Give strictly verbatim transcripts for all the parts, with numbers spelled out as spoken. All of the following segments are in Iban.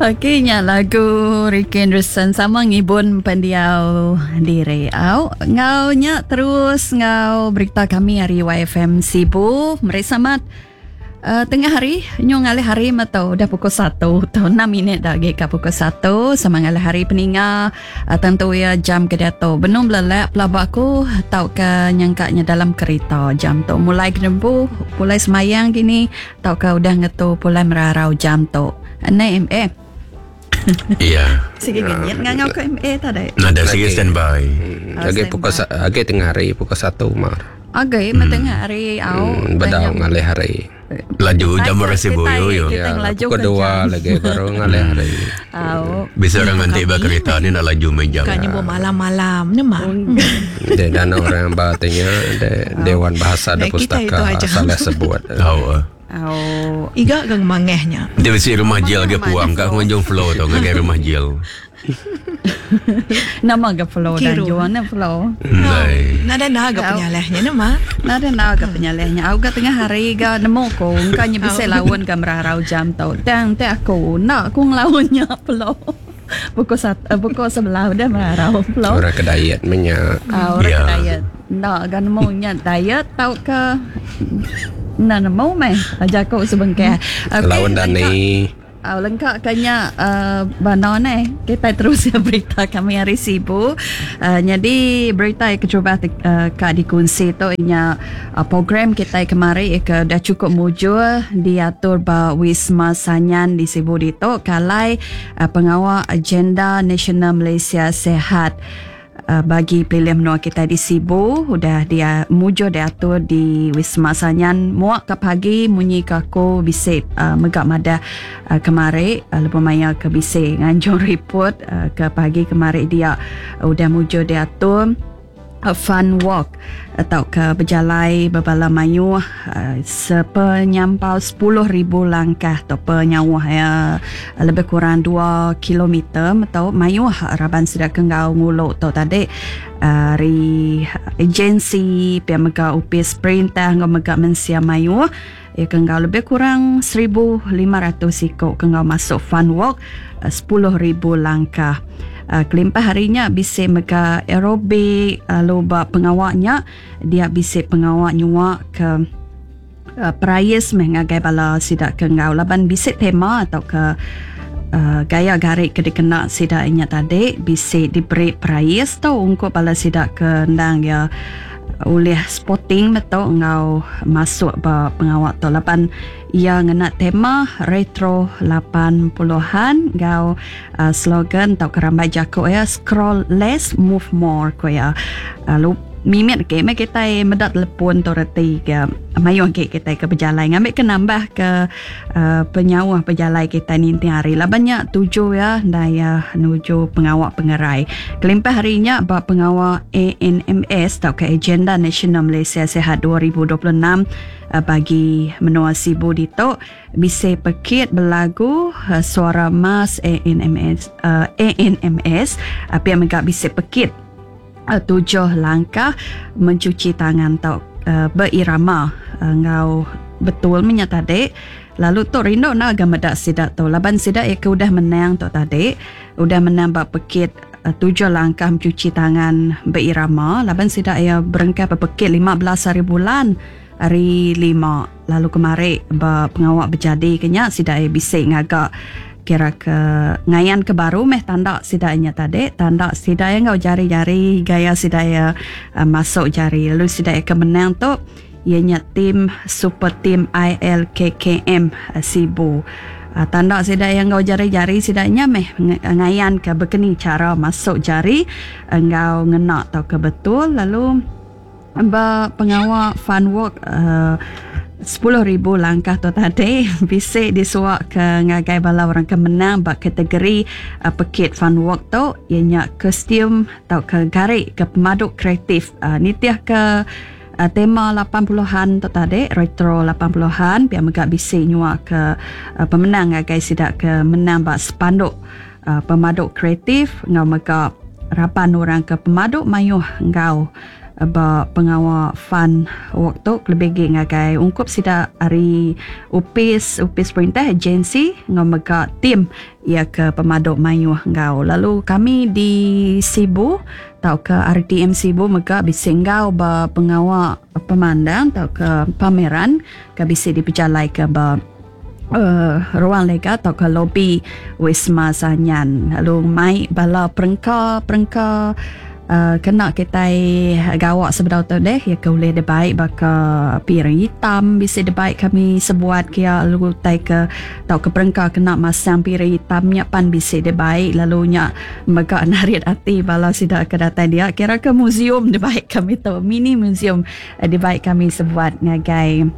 Okey, nya lagu Ricky Anderson sama ngibun pendiau diri. Au, ngau nya terus ngau berita kami hari Y F M Sibu. Meri selamat uh, tengah hari, nyu ngalih hari matau dah pukul satu atau enam minit dah lagi ke pukul satu sama ngalih hari peninga uh, tentu ya jam ke diatu. Benung belelak pelaba aku tau ke nyangkanya dalam kereta jam tu. Mulai kenempu, pulai semayang gini tau ke udah ngetu pulai merarau jam tu. N M A. Iya. Sige genyit ngangau ke M A tadi. Nada sige standby. Lagi pukul lagi tengah hari pukul satu mar. Okey, hmm. tengah hari au. Hmm, bedau ngalih hari. Laju jam berapa yo yo. Kita ngelaju pukul dua lagi baru ngalih hari. Au. Bisa orang nanti ba kereta ni nak laju main jam. Bukan nyebut malam-malam ni mah. De dan orang batenya de Dewan Bahasa dan Pustaka salah sebut. Tahu. Oh. Iga gang mangehnya. Dia mesti rumah jail ke puang kat pengunjung flow tu ngagai rumah jail. Nama ke flow dan juana flow. Nada naga penyalahnya nama. Nada naga penyalahnya. Aku kat tengah hari ga nemu ko engkau nya bisa lawan ga merarau jam tau. Tang te aku nak aku ngelawannya flow. Pukul satu, pukul sebelah udah merarau flow. Orang ke diet menya. Ah, orang ke diet. Nak ga nemu nya diet tau ke nah, nemu meh aja aku sebengkah. Okay, lawan dani. Oh, lengkap kanya uh, bana ne. Kita terus ya berita kami hari Sibu. Uh, jadi berita yang kecuba uh, kak dikongsi tu inya uh, program kita kemari ke dah cukup mujur diatur ba Wisma Sanyan di Sibu ditu kalai uh, pengawal agenda nasional Malaysia Sehat. Uh, bagi pilihan menua kita di Sibu udah dia mujur diatur di Wisma Sanyan muak ke pagi munyi ke aku bisik uh, megak madah uh, kemari uh, lepas maya ke bisik nganjung report uh, ke pagi kemari dia uh, udah mujur diatur uh, fun walk atau ke berjalai berbala mayuh uh, sepenyampau sepuluh ribu langkah atau penyawah ya lebih kurang dua kilometer atau mayuh raban sudah kenggau nguluk tau tadi dari uh, agensi pihak mega upis perintah ngau mega mensia mayuh ya kenggau lebih kurang seribu lima ratus ikut kenggau masuk fun walk uh, sepuluh ribu langkah. Uh, kelimpah harinya bisa mega aerobik lalu uh, pengawaknya dia bisa pengawak nyuak ke uh, perais meh ngagai bala sidak ke ngau laban bisa tema atau ke uh, gaya garik ke dikena sidak nya tadi bisa diberi perais tau ungkup bala sidak ke ndang ya oleh sporting betul ngau masuk ba pengawak tu lapan ia ngena tema retro lapan puluhan ngau uh, slogan tau kerambai jako ya scroll less move more ko ya lalu uh, mimit ke me kita medak telepon tu reti ke mayuh ke kita ke berjalai ngambil ke nambah ke uh, penyawah berjalai kita ni tiap hari lah banyak tuju ya daya nuju pengawak pengerai kelimpah harinya bab pengawak A N M S atau ke Agenda Nasional Malaysia Sehat dua ribu dua puluh enam uh, bagi menua Sibu ditu bisa pekit berlagu uh, suara mas A N M S uh, A N M S uh, pihak mega bisa pekit tujuh langkah mencuci tangan tau uh, berirama uh, ngau betul menya tadi lalu tu rindu nak agak medak sidak tu laban sidak ya ke udah menang tu tadi udah menang bab pekit uh, tujuh langkah mencuci tangan berirama laban sidak ya berengkah berpekit lima belas hari bulan hari lima lalu kemari ba pengawak berjadi kenya sidak ya bisik ngagak kira ke ngayan ke baru meh tanda sidaknya tadi tanda sidaknya ngau jari-jari gaya sidaknya uh, masuk jari lalu sidaknya ke menang tu ianya tim super team I L K K M uh, Sibu uh, tanda sidaknya ngau jari-jari sidaknya meh ngayan ke berkeni cara masuk jari ngau ngena tau ke betul lalu ba pengawak fun walk uh, sepuluh ribu langkah tu tadi bisa disuak ke ngagai bala orang ke menang bak kategori uh, pekit fun walk tu ianya kostum atau ke garik ke pemaduk kreatif uh, nitiah ke uh, tema lapan puluhan tu tadi retro lapan puluhan biar megak bisa nyuak ke uh, pemenang ngagai sidak ke menang bak sepanduk uh, pemaduk kreatif ngau megak rapan orang ke pemaduk mayuh ngau Ba pengawa fun walk tu lebih gi ngagai ungkup sida ari upis upis perintah agensi ngau mega tim ia ke pemaduk mayuh ngau. Lalu kami di Sibu tau ke R T M Sibu mega bisi ngau ba pengawa pemandang tau ke pameran ke bisi dipejalai ke ba Uh, ruang lega atau ke lobi Wisma Sanyan. Lalu mai bala perengka-perengka uh, kena kita gawak sebedau tu deh ya ke boleh debaik baka piring hitam bisa debaik kami sebuat kia lalu tai ke tau ke perengka kena masang piring hitamnya pan bisa debaik lalu nya mega narit hati bala sida ke datai dia kira ke museum debaik kami tu mini museum debaik kami sebuat ngagai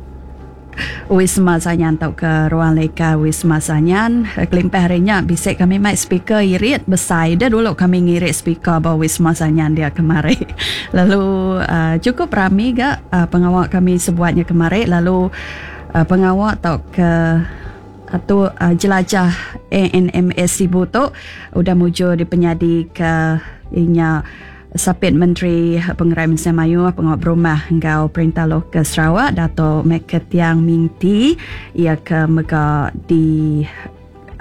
Wisma Sanyan atau ke ruang leka Wisma Sanyan. Kelimpah harinya bisik kami mai speaker irit besar. Dia dulu kami ngirit speaker bawa Wisma Sanyan dia kemari. Lalu uh, cukup rami gak uh, pengawak kami sebuatnya kemari. Lalu uh, pengawak atau ke atau uh, jelajah A N M S Sibu tu udah mujur dipenyadi ke inya Sapit Menteri Pengerai Mensia Mayuh Pengawal Berumah Enggau Perintah Lokal Sarawak Dato' Michael Tiang Ming Tee ia ke mega di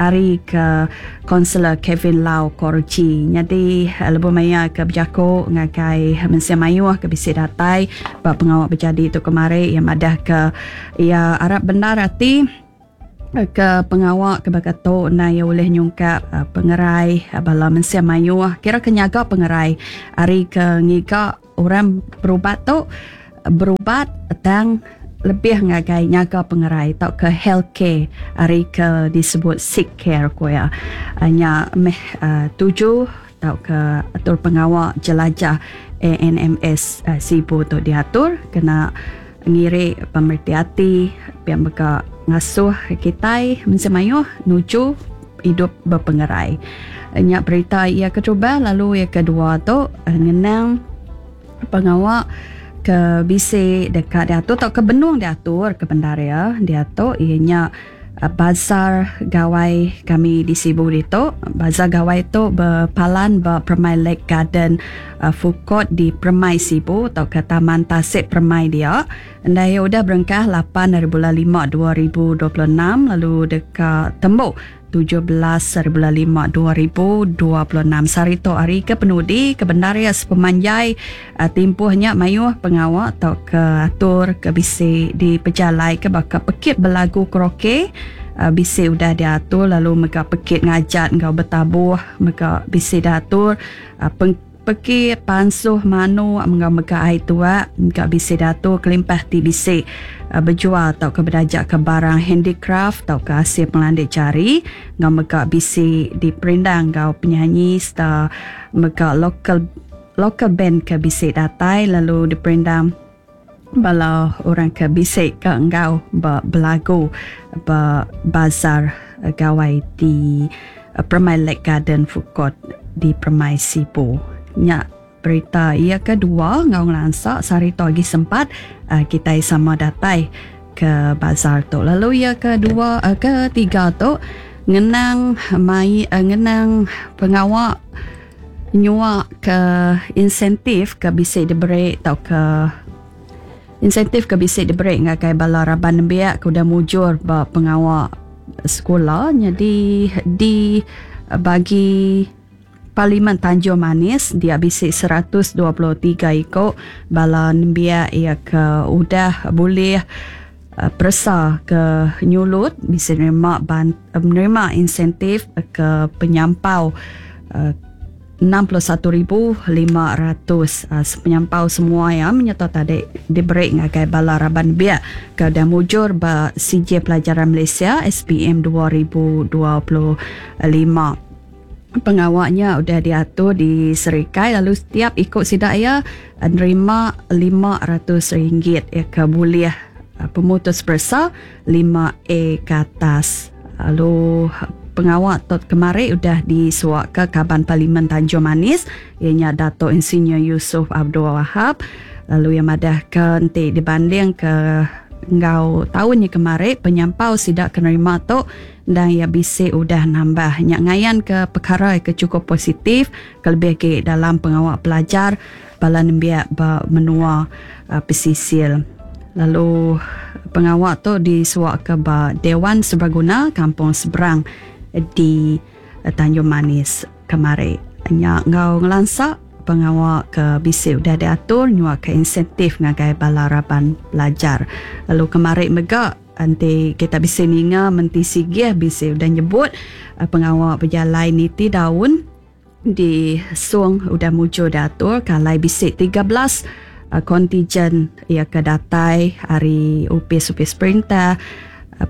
hari ke Konselor Kevin Lau Korji. Jadi lebuh maya ke berjako ngagai Mensia Mayuh ke bisi datai ba pengawal berjadi tu kemari yang madah ke ia arap benar hati ke pengawak ke bakato na ia boleh nyungkap uh, pengerai uh, bala mensia mayuh kira kenyaga pengerai hari ke ngiga orang berubat tu berubat tang lebih ngagai nyaga pengerai atau ke healthcare hari ke disebut sick care ko ya nya meh uh, tuju atau ke atur pengawak jelajah A N M S uh, Sibu tu diatur kena ngiri pemerti hati biar mega ngasuh kitai mensia mayuh nuju hidup berpengerai. Nya berita ia kecuba lalu ia kedua tu ngenang pengawak ke bisi dekat diatur atau ke benung diatur ke bendaria diatur ianya bazar gawai kami di Sibu ditu. Bazar gawai tu berpalan ba Permai Lake Garden uh, food court di Permai Sibu atau ke Taman Tasik Permai dia. Ndai udah berengkah lapan hari bulan lima dua ribu dua puluh enam lalu dekat tembok tujuh belas hari bulan lima dua ribu dua puluh enam. Sehari tu hari ke penudi ke bendaria sepemanjai uh, timpuhnya mayuh pengawak atau ke atur ke bisi di pejalai ke baka pekit belagu karaoke uh, bisi udah diatur lalu mega pekit ngajat ngau bertabuh mega bisi diatur uh, peng pekit pansuh manu mengau mega ai tuak mega bisi diatur kelimpah ti bisi uh, berjual atau ke berdajak ke barang handicraft atau ke hasil pengelandik jari ngau mega bisi diperindang ngau penyanyi serta mega local local band ke bisi datai lalu diperindang bala orang ke bisi ke enggau belagu ba bazar gawai di Permai Lake Garden Food Court di Permai Sibu. Nya berita ia kedua ngau ngelansak sehari tu lagi sempat uh, kita sama datai ke bazar tu. Lalu ia kedua uh, ketiga tu ngenang mai uh, ngenang pengawak nyuak ke insentif ke bisi diberi atau ke insentif ke bisi diberi ngagai bala raban nembiak ke udah mujur ba pengawak sekolah. Jadi di bagi Parlimen Tanjung Manis dia bisi seratus dua puluh tiga iko bala nembiak ia ke udah boleh uh, peresa ke nyulut bisa menerima ban, menerima insentif ke penyampau uh, enam puluh satu ribu lima ratus uh, penyampau semua ya menyata tadi diberi ngagai bala raban biak ke dah mujur ba C J Pelajaran Malaysia S P M dua ribu dua puluh lima. Pengawaknya udah diatur di Serikai lalu setiap ikut sidak ya nerima lima ratus ringgit ya ke boleh pemutus persa lima A ke atas. Lalu pengawak tot kemari udah disuak ke Kaban Parlimen Tanjung Manis ianya Dato' Insinyur Yusof Abdul Wahab lalu yang madah ke nanti dibanding ke Enggau taun nya kemari penyampau sida ke nerima tu dan ia bisi udah nambah. Nya ngayan ke perkara ke cukup positif kelebih lagi dalam pengawal pelajar bala nembiak ba menua uh, pesisir. Lalu pengawal tu disuak ke ba Dewan Serbaguna Kampung Seberang di Tanjung Manis kemari. Nya ngau ngelansa pengawal ke bisi udah diatur nyua ke insentif ngagai bala raban pelajar. Lalu kemari mega nanti kita bisa ninga menti sigih bisi udah nyebut pengawal berjalai niti daun di Song udah muncul diatur kalai bisi tiga belas kontijen ia ke datai hari upis-upis perintah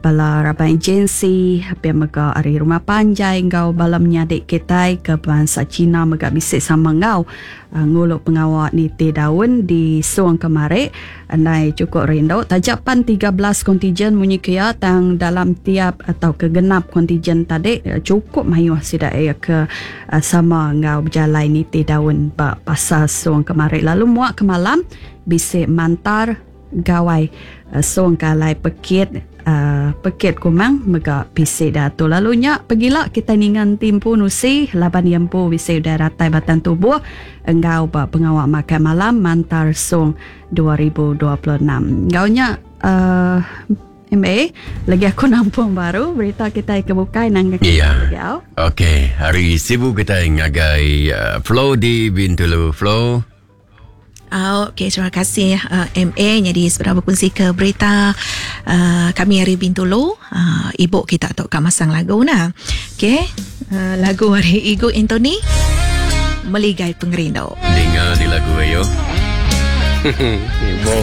bala raban agensi pia mega ari rumah panjai ngau bala menyadik kitai ke bangsa Cina mega bisi sama ngau uh, nguluk pengawal niti daun di Song kemari. Andai cukup rindu tajapan tiga belas kontijen munyi kia tang dalam tiap atau kegenap kontijen tadi cukup mayuh sida ia ke uh, sama ngau berjalai niti daun ba pasar Song kemari. Lalu muak ke malam bisi mantar gawai uh, Song kalai pekit Uh, pekit kumang mega P C datu. Lalu nya pegila kita ningan timpu nusi laban yempu bisi udah ratai batang tubuh enggau ba pengawal makan malam Mantar Song dua ribu dua puluh enam. Enggau nya uh, M A lagi aku nampung baru berita kita ke bukai nang ke yeah. Okey, hari Sibu kita ngagai uh, Flow di Bintulu. Flow. Oh, okey, terima kasih uh, M A. Jadi seberapa berkongsi ke berita uh, kami hari Bintulu, uh, ibu kita tu kat masang lagu nah. Okey, uh, lagu hari Igu Anthony Meligai Pengerindu. Dengar di lagu ayo. Ibu.